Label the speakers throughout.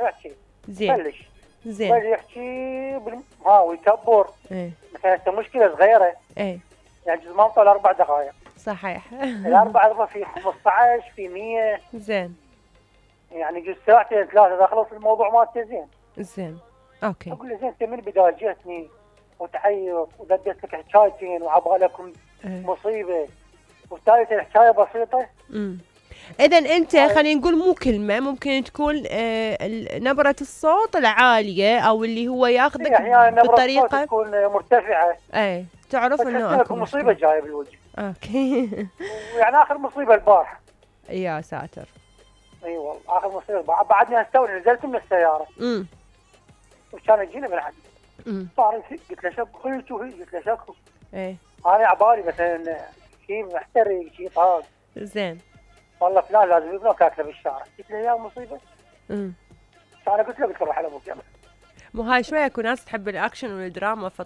Speaker 1: يحكي
Speaker 2: زين
Speaker 1: بلش
Speaker 2: زين.
Speaker 1: يحكي ويكبر.
Speaker 2: ايه
Speaker 1: مثلا هسه مشكله صغيره،
Speaker 2: ايه
Speaker 1: يعني جزء ما طول 4 دقائق،
Speaker 2: صحيح.
Speaker 1: الاربع اضربها في 15 في 100،
Speaker 2: زين
Speaker 1: يعني جزء ساعتين 3 اذا خلص الموضوع مالته زين.
Speaker 2: زين اوكي.
Speaker 1: اقول له زين انت من البدايه جيتني وتعيط ودديت لك حكايتين وعبالكم
Speaker 2: ايه
Speaker 1: مصيبه، والثالثه الحكايه بسيطه.
Speaker 2: اذا انت خلينا نقول مو كلمه، ممكن تكون نبره الصوت العاليه او اللي هو ياخذك
Speaker 1: يعني نبره الصوت
Speaker 2: بطريقه
Speaker 1: تكون مرتفعه،
Speaker 2: ايه تعرف انه اكو
Speaker 1: مصيبه جايه بالوجه.
Speaker 2: اوكي.
Speaker 1: ويعني اخر مصيبه البارحه.
Speaker 2: يا ساتر.
Speaker 1: اي والله اخر مصيبه بعدني استوي نزلت من السياره. وكان يجينا بالحد. صار قلت له شكو قلت له شكو.
Speaker 2: ايه
Speaker 1: انا عبالي مثلا شيء محترق شيء طاق.
Speaker 2: زين.
Speaker 1: والله فلان لازم يبنوك اكله بالشارع. قلت له يا مصيبه. انا قلت له روح على ابوك يلا.
Speaker 2: مو هاي شويه اكو ناس تحب الاكشن والدراما في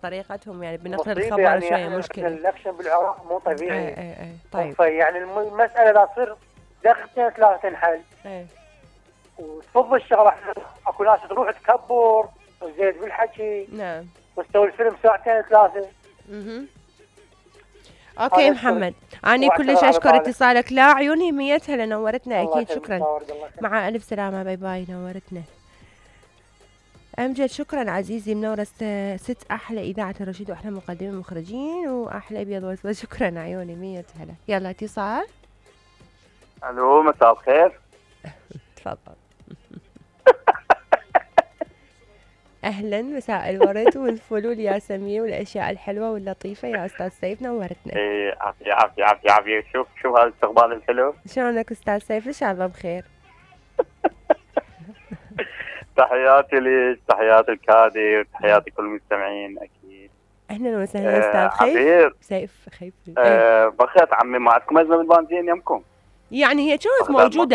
Speaker 2: يعني بنقل الخبر
Speaker 1: يعني
Speaker 2: شويه مشكله.
Speaker 1: الاكشن بالعراق مو طبيعي.
Speaker 2: اي طيب.
Speaker 1: يعني المساله لا تصير دقيقتين 3 تنحل.
Speaker 2: اي
Speaker 1: وتفضل الشغله، اكو ناس تروح تكبر وزيد بالحكي.
Speaker 2: نعم.
Speaker 1: وتسوي الفيلم ساعتين 3.
Speaker 2: اوكي محمد، اني كلش اشكر اتصالك. لا عيوني ميتها لنورتنا اكيد. شكرا، مع الف سلامه، باي باي، نورتنا. امجد شكرا عزيزي، منورة ست احلى اذاعه الرشيد واحلى مقدمين مخرجين واحلى ابيض واسود. شكرا عيوني، 100 هلا. يلا اتصال.
Speaker 3: الو مساء الخير.
Speaker 2: تفضل. اهلا، مساء الورد والفل والياسمين والاشياء الحلوه واللطيفه يا استاذ سيف، نورتنا.
Speaker 3: ايه عافيه عافيه عافيه. شوف هذا الاستقبال الحلو.
Speaker 2: شلونك استاذ سيف؟ ان شاء الله بخير.
Speaker 3: تحياتي لك، تحياتي الكادي، وتحياتي كل المستمعين اكيد.
Speaker 2: اهلا وسهلا استاذ
Speaker 3: خيف.
Speaker 2: سيف خيف.
Speaker 3: بخيت عمي، ما عندكم ازمه بالبنزين يمكم؟
Speaker 2: يعني هي كانت موجوده